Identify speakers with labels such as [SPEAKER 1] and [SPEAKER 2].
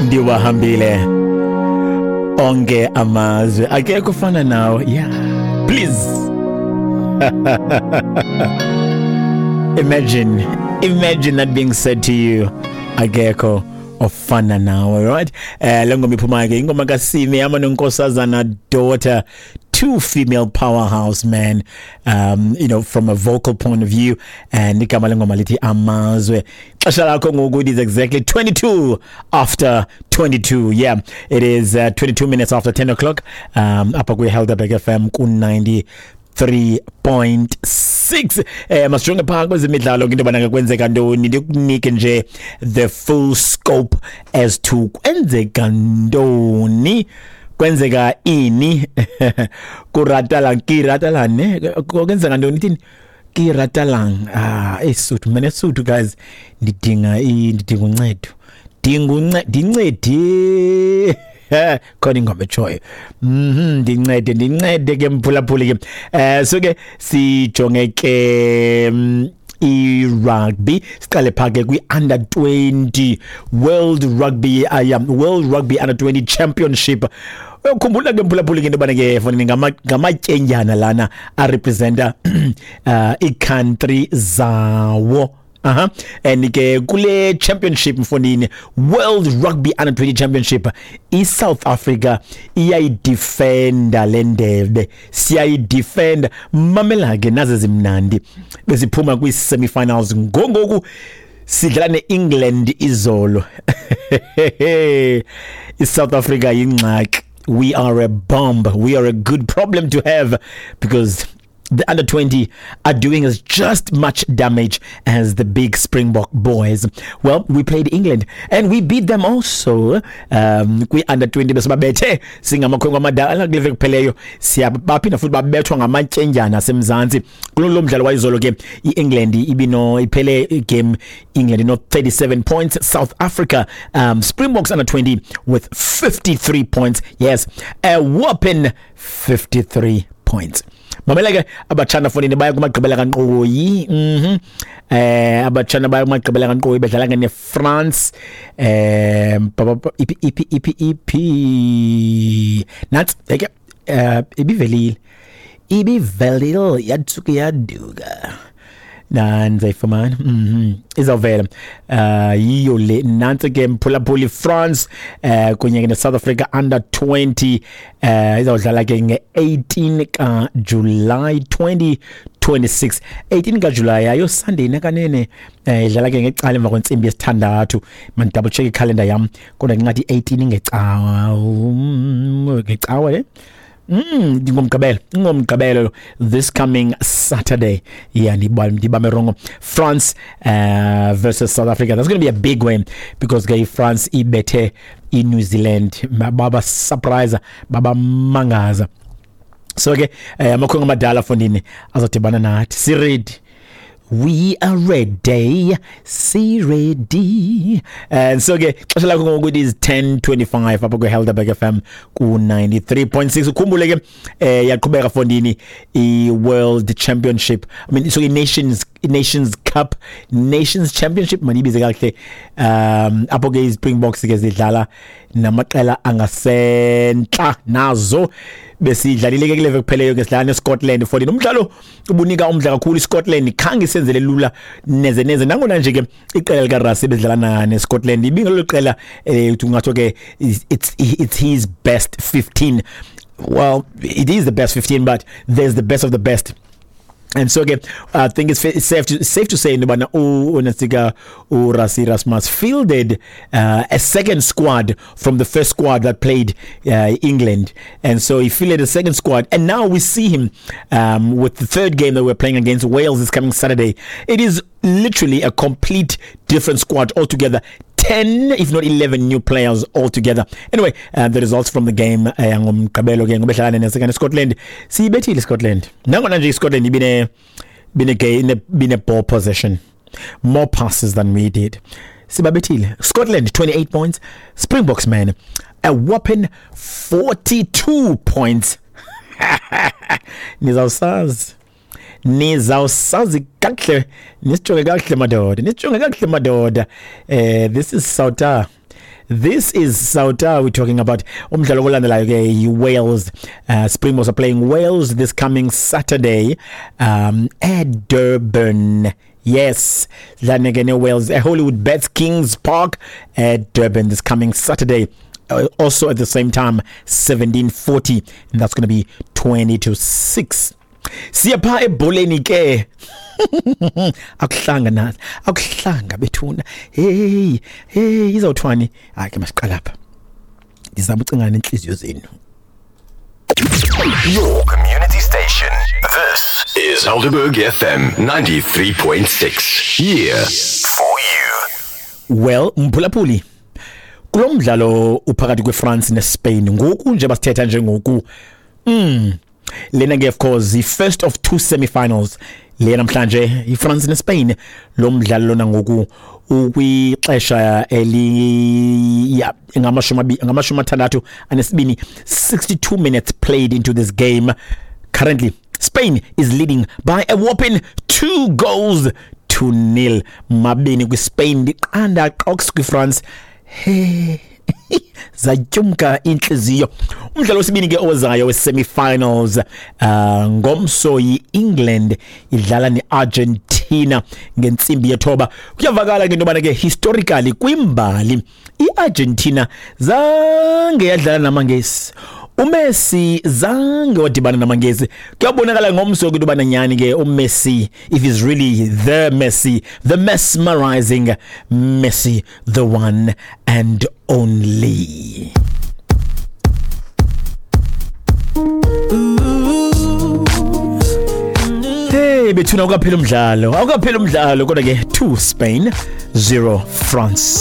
[SPEAKER 1] Ndiwahambile onke amazwe, akekho ufana nawe. Yeah, please imagine that being said to you, akekho ofana nawe, right? Le ngoma iphuma ke, ingoma kaSimi yama noNkosazana Daughter, two female powerhouse, man, from a vocal point of view. And igama lengoma lithi Amazwe. Xesha lakho ngoku it is exactly 22 after 22. Yeah, it is 22 minutes after 10 o'clock apha kwi-Helderberg FM ku-90 3.6. Masijonge phaa kwezemidlalo into yobana kwenzeka ntoni, ndikunike nje the full scope as to kwenzeka ntoni, kwenzeka ini, kuratalang kiratalang ne, kwenzeka ntoni, ithini kiratalang. Ah, esuthu mina, esuthu guys, ndidinga uncedo, dinga ndincedi khona ingoma etshoyo. Ndincede, ndincede ke mphulaphuli ke. So ke sijonge ke i-rugby, siqale phaa ke kwi-under 20 World Rugby, World Rugby Under 20 Championship. Uyokhumbula ke mphulaphuli ke into yobana ke fonini ngamatyendyana lana arepresenta ii-country zawo. Aha. And ke kule championship mfondini, World Rugby Under 20 Championship, iSouth Africa iyayidefenda le ndebe, siyayidefenda. Mamela ke naze zimnandi, besiphuma kwi-semifinals, ngongoku sidlala ne-England izolo. ISouth Africa yingxaki. We are a bomb. We are a good problem to have because the under 20 are doing us just much damage as the big Springbok boys. Well, we played England and we beat them also. Kwi under 20 besibabethe singamakhwenkwe amadala kule veki kupheleyo, siyabaphinda futhi babethwa ngamatyendyana asemzantsi. Kulo mdlalo wayizolo ke i-England ibino iphele igame England ino 37 points, South Africa, Springboks under 20 with 53 points. Yes, a whopping 53 points. Mamela ke abatshana fonini, baya kumagqibela kankqoyi. Abatshana baya kumagqibela kankqoyi, bedlala ke neFrance. Iphi iphi iphi iphi nantsi ke, ibivelile, ibivelile, yatsuka yaduka, nanzayifumana. Izawuvela. Yiyo le, nantsi ke mphulaphuli, France kunye ke ne-South Africa under 20, izawudlala ke nge-18 kaJulayi 2026, 18 kaJulayi, ayo Sunday nakanene. Idlala ke ngecala emva kwentsimbi yesithandathu. Man double check ikhalenda yam, kodwa ngingathi 18 ngecawa, ngecawa le. Ngomgqibelo, ngomgqibelo, this coming Saturday. Yeah, ndibambe wrong. France versus South Africa. That's going to be a big win because ke France ibethe iNew Zealand, baba surprise, baba mangaza. So ke amakhwenkwe amadala fondini azodibana nathi. Si ready. We are ready. Si ready. And so ke xesha lakho ngoku it is 10:25 apha kwi-Helderberg FM ku-93.6. Ukhumbule ke yaqhubeka fondini i-World Championship. I mean, so i-Nations Cup, Nations Championship manibize kakuhle. Apho ke iSpringboks ke zidlala namaqela angasentla nazo. Besidlalile ke kule veki kupheleyo ke, sidlala neScotland fondini. Umdlalo ubunika umdla kakhulu. iScotland khange isenzele lula neze neze, nangona nje ke iqela likaRassie bedlala neScotland ibingelo qela ungatsho ke it's his best 15. Well, it is the best 15, but there's the best of the best. And so ke I think it's safe to say into yobana unasika uRassie Erasmus fielded a second squad from the first squad that played England, and so he fielded a second squad, and now we see him with the third game that we're playing against Wales this coming Saturday. It is literally a complete different squad altogether. 10, if not 11 new players altogether. Anyway, the results from the game ngomgqibelo ke ngobedlala nesekane Scotland, siyibethile Scotland, nangona nje iScotland ibine ball possession, more passes than we did. Sibabethile Scotland 28 points, Springboks man a whopping 42 points. Nizawusazi, nizawusazi kakuhle, nisijonge kakuhle madoda, nisijonge kakuhle madoda. This is South, This is Sauta we're talking about. Umdlalo olandelayo ke yi-Wales. Springboks are playing Wales this coming Saturday at Durban. Yes, sidlala ke ne-Wales at Hollywood Bets Kings Park at Durban this coming Saturday. Also at the same time, 17:40, and that's going to be 5:40. Siya phaa ebholeni ke. Akuhlanga na, akuhlanga bethuna. Hey, hey, izawuthwani? Hayi ke, masiqala apha. Ndizama ucingana nentliziyo zenu.
[SPEAKER 2] Your community station. This is Helderberg FM 93.6. Here for you.
[SPEAKER 1] Well, mphulaphuli, kulo mdlalo uphakathi kweFrance neSpain ngoku nje basithetha njengoku, lena ke of course the first of two semi-finals le namhlanje, iFrance neSpain. Lo mdlalo lona ngoku ukwixesha eli ya 62, 62 minutes played into this game. Currently Spain is leading by a whopping 2-0, 2 kwiSpain, 0 qox kwiFrance. Hey, zatyumka intliziyo. Umdlalo wesibini ke ozayo we-semi-finals, ngomso yi-England idlala ne-Argentina ngentsimbi ye-9. Kuyavakala ke into yobana ke historically, kwimbali, i-Argentina zange yadlala namaNgesi, uMessi zange wadibana namaNgesi. Kuyabonakala ngomso ke into yobana nyhani ke uMessi, if he's really the Messi, the mesmerizing Messi, the one and only. Hey bethuna, awukaphela umdlalo, awukaphela umdlalo, kodwa ke 2 Spain, 0 France.